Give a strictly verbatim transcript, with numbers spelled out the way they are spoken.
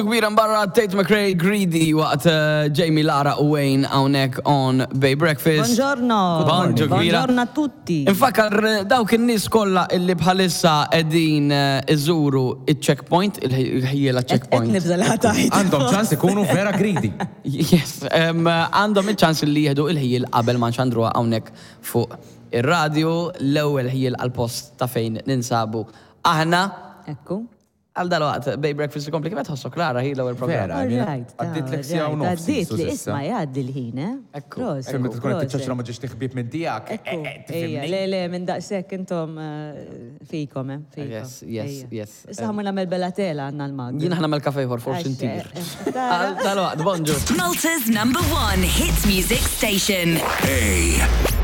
Kbira barra Tate McRae, "Greedy", waqt eh, Jamie, Lara u Wayne hawnhekk on Bay Breakfast. Buongiorno. Bonġu, kbira. Buongiorno a tutti. Infakkar eh, dawk in-nies kollha illi bħalissa qegħdin eh, iżuru il-checkpoint, il-ħjiela Qed checkpoint. Nibża' li ħa tgħid. Għandhom ċans ikunu vera greedy. Yes, em, għandhom il-ċans li jieħdu il-ħjiel qabel ma nxandruha hawnhekk fuq ir-radio, l-ewwel ħjiel għal-post ta' fejn ninsabu. Aħna Ekku. għal dal-waqt Bay Breakfast ikompli. Kif tħossok, Lara, hi l-ewwel programm? Vera. All right. Għaddiet siegħa u nofs. Għaddiet li, isma', jgħaddi l-ħin, eh? Ekku. Proset, Fejn meta tkun qed proset. tiċċaċra ma ġiex tiħbib minn tiegħek. Ekku, ejja, le, le, minn daqshekk intom eh, fikom, eh, fikom. Yes, yes, Ejja. yes. Issa ħa mmur nagħmel bella tela, għandna l-mag. Jien ħa nagħmel kafe ieħor, forsi Għax, ntir. eh, eh, tara. Għal dal-waqt, bonġu. Malta's number one hit music station. A